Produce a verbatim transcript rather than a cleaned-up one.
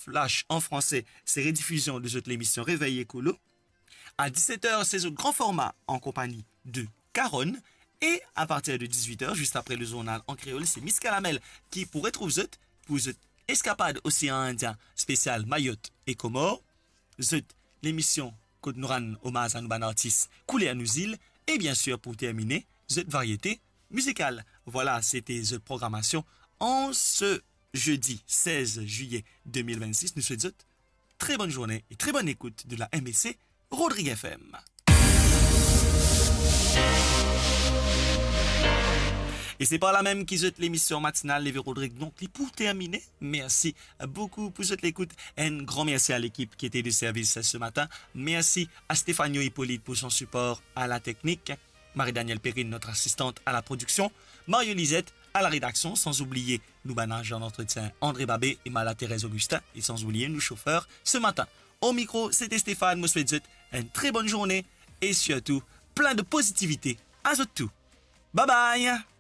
Flash an franse, se redifizion de zot lemision Réveil Écolo. A diset er, se zot gran forma an konpagni de Karonn. E a partir de dizuit er, zis apre le zournal an kreol, se Miss Kalamel ki pou retrouv zot pou zot eskapad Osean Indien spesial Mayotte e Komor. Zot lemision kot nou rann omaz a nou bann artis Kouler Nou Zil. E biensir, pou termine, zot variete mizikal. Vwala, sete zot programasion an se zedi sez zilye de mil vennsis. Nou swet zot tre bonn zourne e tre bonn ekout de la M B C Rodrig F M. E se par la mem ki zot lemision matinal Leve Rodrig, donk, li pou termine. Mersi boukou pou zot lekout. Enn gran mersi a lekip ki ete de servis se matin. Mersi a Stéphanie Hippolyte pou son sipor a la teknik, Marie-Danielle Perrine, notre assistante à la production, Mario Lisette à la rédaction, sans oublier nou bann azan d'antretien André Babé e Mala Thérèse Augustin, e sans oublier nou sofer se matin. O mikro, sete Stéphane, mo swet zot enn tre bonn zourne e sirtou plin de pozitivite a zot tou. Bye bye!